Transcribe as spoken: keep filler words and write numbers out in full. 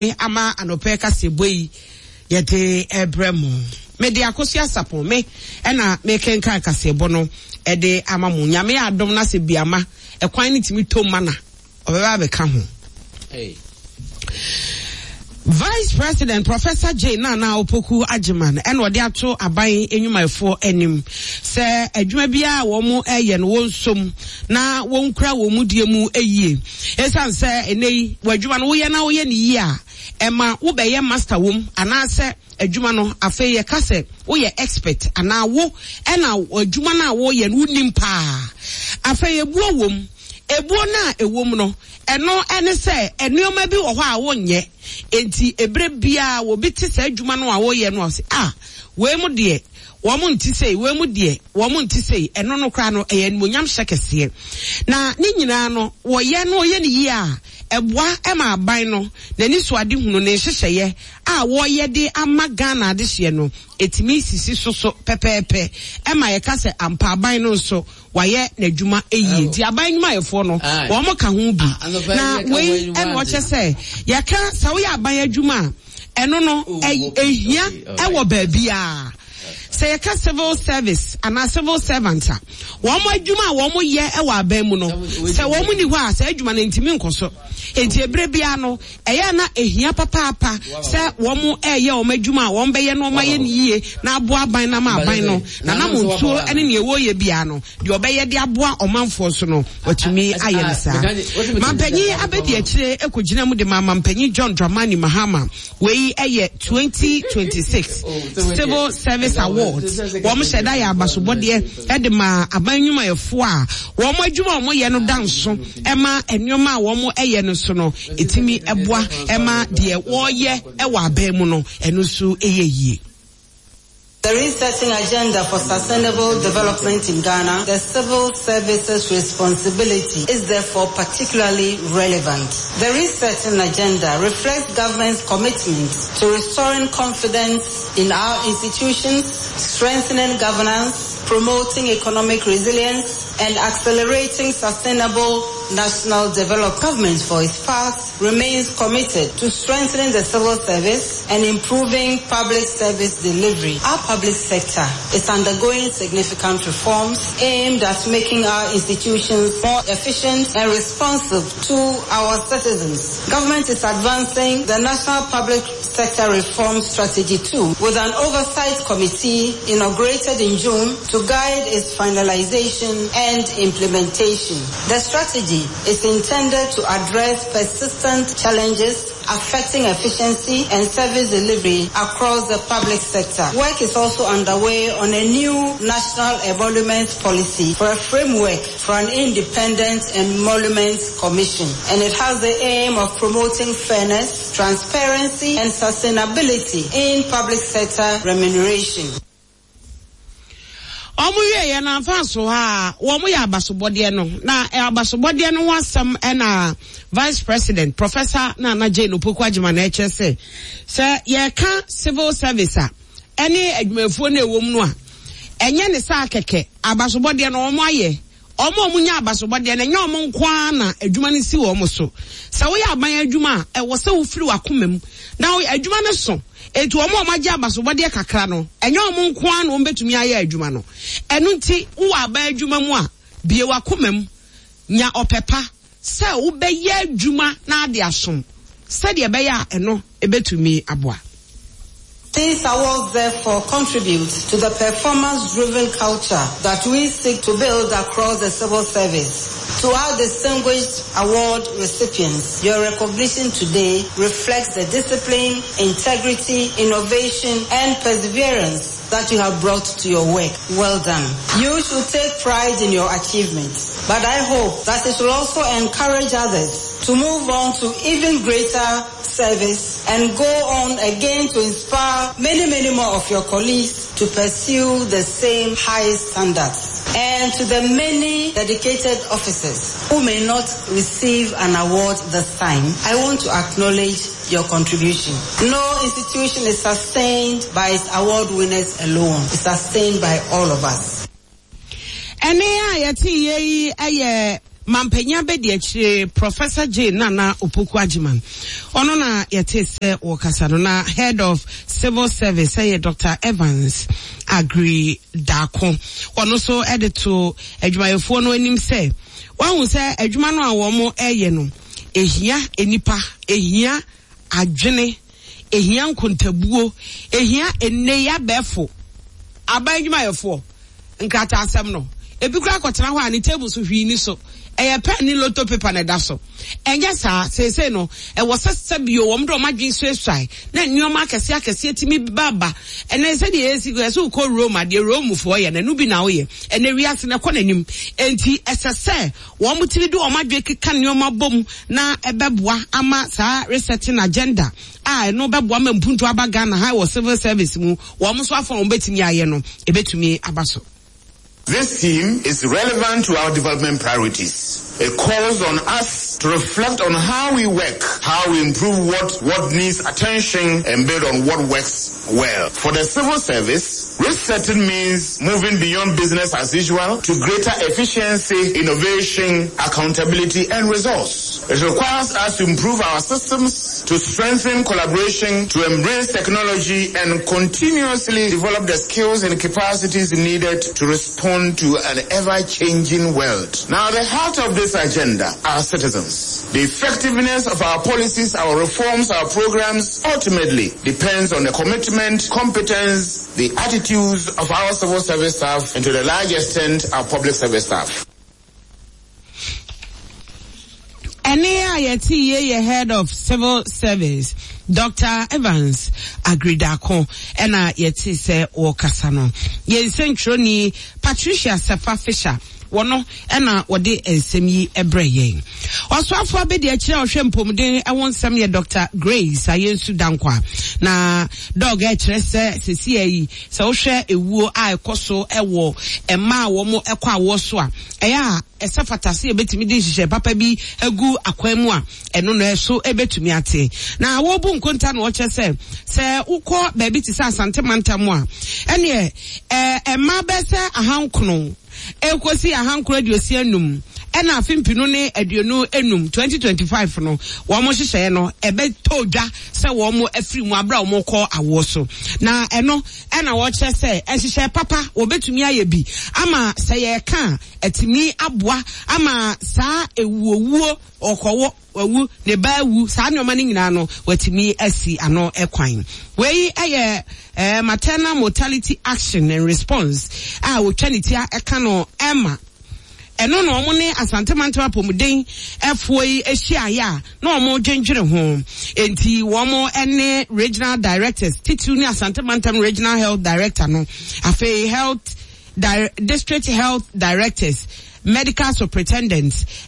Ama anɔpɛ kaseɛbɔ yi yɛde ɛbrɛ mo. Mede Akosua Sapon me ɛna mekenkan kaseɛbɔ no ɛde ama mo. Nyame yɛ adom na sɛ biama ɛkwan no tumi tom ma na ɔbɛba abɛka ho. Hey. Vice President Professor Jane Nana Opoku Agyeman ɛna ɔde ato aban nnwumayɛfoɔ anim sɛ adwuma biara a wɔn ɛyɛ no wɔnsom na wɔnkura wɔn mu die mu yie. Ɛsiane sɛ ɛnɛ yi w'adwuma no woyɛ na woyɛ no yie a, ɛma wobɛyɛ master wom, anaasɛ adwuma no afei yɛka sɛ woyɛ expert anaa wo ɛna adwuma no a woyɛ no wonim paa. Afei ebuo wom. Ebuo no a ɛwom no, ɛno ɛne sɛ nneɛma bi wɔ hɔ a wonyɛ. Enti ebere biara obi te saa adwuma no a woyɛ no a ɔse, ah, wei mu deɛ wɔn nte sei, wei mu deɛ wɔn nte sei. Ɛno no koraa no ɛyɛ animuonyam hyɛ kɛseɛ. Na ne nyinaa no wɔyɛ no wɔyɛ no yie a, ɛboa ɛma aban no n'ani so ade hunu ne nhyehyɛeɛ a wɔyɛ de ama Ghana adehyeɛ no etumi sisi so so pɛpɛɛpɛ. Ɛma yɛka sɛ ampa aban no nso wayɛ n'adwuma yie. Nti aban nnwumayɛfoɔ no wɔn ka ho bi. Na wei ɛna ɔkyɛ sɛ yɛka sɛ woyɛ aban adwuma a, ɛno no ehia ɛwɔ baabiara. Sɛ yɛka civil service anaa civil servant a, wɔn adwuma a wɔn yɛ ɛwɔ aban mu no, sɛ wɔn ni hɔ a, sɛ adwuma no ntumi nkɔ so. Enti ebere biara no, ɛyɛ na ehia papaapa sɛ wɔn ɛyɛ wɔn adwuma a wɔn bɛyɛ no wɔn ayɛ no yie na aboa aban na ama aban no na nam ntuo ɛne nea ɛwɔ yɛ biara no deɛ ɔbɛyɛ de aboa ɔmanfoɔ so no watumi ayɛ no saa. Mampanyin abɛdi akyire ekɔgyina mu de ma Mampanyin John Dramani Mahama. Wei ɛyɛ twenty twenty-six Civil Service Awards. Wɔn hyɛ da yɛ abasobɔdeɛ ɛde ma aban nnwumayɛfoɔ a wɔn adwuma a wɔyɛ no da nso ɛma nneɛma a wɔn ɛyɛ no so no etimi ɛboa ɛma deɛ wɔyɛ ɛwɔ aban mu no ɛno nso ɛyɛ yie. The resetting agenda for sustainable development in Ghana, the civil services responsibility is therefore particularly relevant. The resetting agenda reflects government's commitment to restoring confidence in our institutions, strengthening governance, promoting economic resilience, and accelerating sustainable national development. Government, for its part, remains committed to strengthening the civil service and improving public service delivery. Our public sector is undergoing significant reforms aimed at making our institutions more efficient and responsive to our citizens. Government is advancing the National Public Sector Reform Strategy two with an oversight committee inaugurated in June to guide its finalization and implementation. The strategy is intended to address persistent challenges affecting efficiency and service delivery across the public sector. Work is also underway on a new national emoluments policy for a framework for an independent emoluments commission, and it has the aim of promoting fairness, transparency, and sustainability in public sector remuneration. Ɔmo wie yɛ na nfa so ha wɔn yɛ abasobɔdeɛ no na abasobɔdeɛ no ho asɛm ɛna Vice President Professor Nana Jane Opoku Agyeman na ɛkyerɛ sɛ sɛ yɛka civil service a ɛne adwumayɛfoɔ no ɛwɔ mu no a ɛnyɛ ne saa kɛkɛ. Abasobɔdeɛ no wɔn ayɛ ɔmo a ɔmo nya abasobɔdeɛ no ɛnyɛ ɔmo nko ara na adwuma no si wɔn so. Sɛ woyɛ aban adwuma a ɛwɔ sɛ wofiri w'akoma mu na adwuma no so. Eti wɔn a wɔagye abasobɔdeɛ kakra no ɛnyɛ wɔn nko ara na wɔn bɛtumi ayɛ adwuma no. Ɛno nti wowɔ aban adwuma mu a bie w'akoma mu nya ɔpɛ pa sɛ wobɛyɛ adwuma na ade asom sɛdeɛ ɛbɛyɛ a ɛno ebɛtumi aboa. These awards therefore contribute to the performance-driven culture that we seek to build across the civil service. To our distinguished award recipients, your recognition today reflects the discipline, integrity, innovation, and perseverance that you have brought to your work. Well done. You should take pride in your achievements, but I hope that it will also encourage others to move on to even greater service and go on again to inspire many, many more of your colleagues to pursue the same high standards. And to the many dedicated officers who may not receive an award this time, I want to acknowledge your contribution. No institution is sustained by its award winners alone. It's sustained by all of us. Ɛne a yɛte yɛ yi ɛyɛ Mampanyin abɛdi akyire Professor Jane Nana Opoku Agyeman, ɔno na yɛte sɛ wɔkasa no, na Head of Civil Service ɛyɛ Doctor Evans Aggrey Darko. Ɔno nso ɛde to adwumayɛfoɔ no anim sɛ wahu sɛ adwuma no a wɔn ɛyɛ no ehia nipa, ehia adwene, ehia nkontabuo, ehia enne abɛɛfo aban adwumayɛfoɔ nkrataa asɛm no. Ebi kura akɔtena hɔ a ne table so hwii ni so, ɛyɛ pen ne lotto paper na ɛda so. Ɛnyɛ saa. Seesei no ɛwɔ sɛ sɛbio wɔn de wɔn adwene suasuae na nneɛma akɛseɛ akɛseɛ tumi ba ba. Ɛnɛ sɛdeɛ esi ɛsɛ wokɔ Rome adeɛ, Romefoɔ yɛ na ɛno bi na woyɛ. Ɛnɛ wiase na ɛkɔ n'anim, enti ɛsɛ sɛ wɔn tumi de wɔn adwene keka nneɛma bom na ɛbɛboa ama saa resetting agenda a ɛno bɛboa ma mpuntu aba Ghana ha wɔ civil service mu. Wɔn nso afɔ wɔn bɛtumi ayɛ no, ebɛtumi aba so. This theme is relevant to our development priorities. It calls on us to reflect on how we work, how we improve what, what needs attention, and build on what works well. For the civil service, resetting means moving beyond business as usual to greater efficiency, innovation, accountability, and results. It requires us to improve our systems, to strengthen collaboration, to embrace technology, and continuously develop the skills and capacities needed to respond to an ever-changing world. Now, the heart of this agenda are citizens. The effectiveness of our policies, our reforms, our programs ultimately depends on the commitment, competence, the attitudes of our civil service staff, and to the large extent, our public service staff. Ɛne a yɛte yie yɛ Head of Civil Service Doctor Evans Aggrey Darko ɛna yɛte sɛ wɔkasa no. Yɛn nsɛntwerɛni Patricia Sefa Fisher wɔno ɛna wɔde nsɛm yi ɛbrɛ yɛn. Ɔsoafo abɛdi akyire a ɔhwɛ mpɔmuden ɛho nsɛm yɛ Doctor Grace Ayensu Dankwa, na dɔg ɛkyerɛ sɛ sisi ayi sɛ wohwɛ ewuo a ɛkɔ so ɛwɔ mmaa a wɔn ɛkɔ awoɔ so a, ɛyɛ a ɛsɛ fata sɛ yɛbɛtumi de nhyehyɛ papa bi agu akwan mu a ɛno no ɛso ɛbɛtumi ate. Na wɔbu nkonta na wɔkyerɛ sɛ sɛ wokɔ baabi te sɛ Asante mantam a, ɛneɛ ɛɛ mmaa bɛyɛ sɛ ahankono ekosi ahankoro aduosia enum ɛna afe mpinu ne aduonu enum, twenty twenty five no, wɔn hyehyɛɛ no ɛbɛtɔ dwa sɛ wɔn afiri mu abere a wɔn kɔ awoɔ so. Na ɛno ɛna wɔkyerɛ sɛ ɛhyehyɛ papa wɔbɛtumi ayɛ bi ama sɛ yɛreka a ɛtumi aboa ama saa ewuowuo, ɔkɔwɔ wawu, ne ba awu, saa nneɛma no nyinaa no watumi asi ano ɛkwan. Wei ɛyɛ ɛɛ Maternal Mortality Action and Response a wotwa ne tia ɛka no ɛma ɛno na wɔn ne Asante mantam apɔmuden ɛfoɔ yi ahyia a na wɔn dwendwene ho. Nti wɔn ne regional directors titiriw ne Asante mantam regional health director no, afei health di district health directors, medical superintendents.